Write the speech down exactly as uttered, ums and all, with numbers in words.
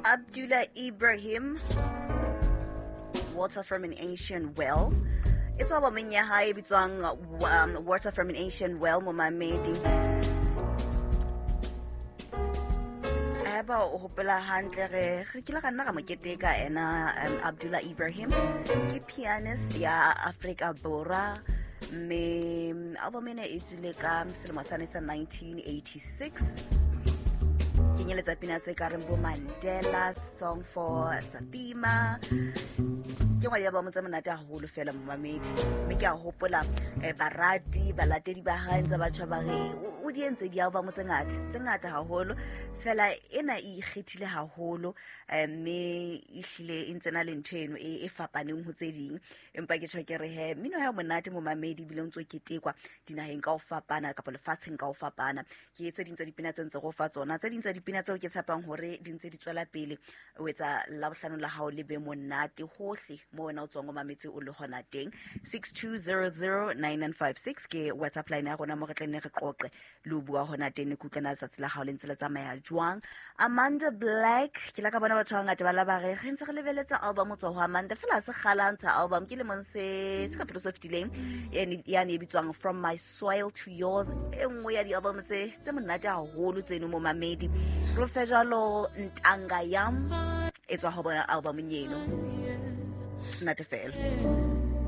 Abdullah Ibrahim, Water from an Ancient Well. E tswa albumeng ya hae e bitswang, um, Water from an Ancient Well, momamedi. Haeba o hopola hantle, re, re kile ra nna ra mo keteka ena, um, Abdullah Ibrahim ke pianist ya Afrika Borwa, mme album ena e tswile ka selemo sane sa nineteen eighty-six. Kenyeletsa pina tse ka reng bo Mandela, Song for Satima. Ke ngwe ya di-album tse monate haholo fela momamedi. Mme ke a hopola, eh, barati, balatedi ba hae ntse ba tjho ba re, o, o di entse di-album tse ngata, tse ngata haholo. Fela ena e ikgethile haholo, eh, mme ehlile e ntse na le ntho eno e, e fapaneng ho tse ding. Empa ke tjho ke re he, mmino ha o monate momamedi, ebile o ntso ketekwa dinaheng ka ho fapana kapa lefatsheng ka ho fapana. Ke tse ding tsa dipina tse ntse go fa tsona, tse ding tsa dipina tseo ke tshepang hore di ntse di tswela pele o etsa Labohlano la hao le be monate hohle mo wena o tswang o mametse o le hona teng. six two zero zero nine nine five six ke WhatsApp line ya rona mo re tla nne re qoqe le ho bua hona teng, ke utlwe na letsatsi la hao le ntse le tsamaya jwang. Amanda Black, ke la ka bona batho ba bangata ba la ba re, re ntse re lebeletse album ho tswa ho Amanda, fela ha se kgale ha ntsha album, ke lemong se, se ka pele se fetileng, yane, yane e bitswang From My Soil to Yours, e nngwe ya di-album tse, tse monate haholo tseno mo mamedi. Re fe jwalo Ntanga Yam e tswa ho bona album eno. Nate fela.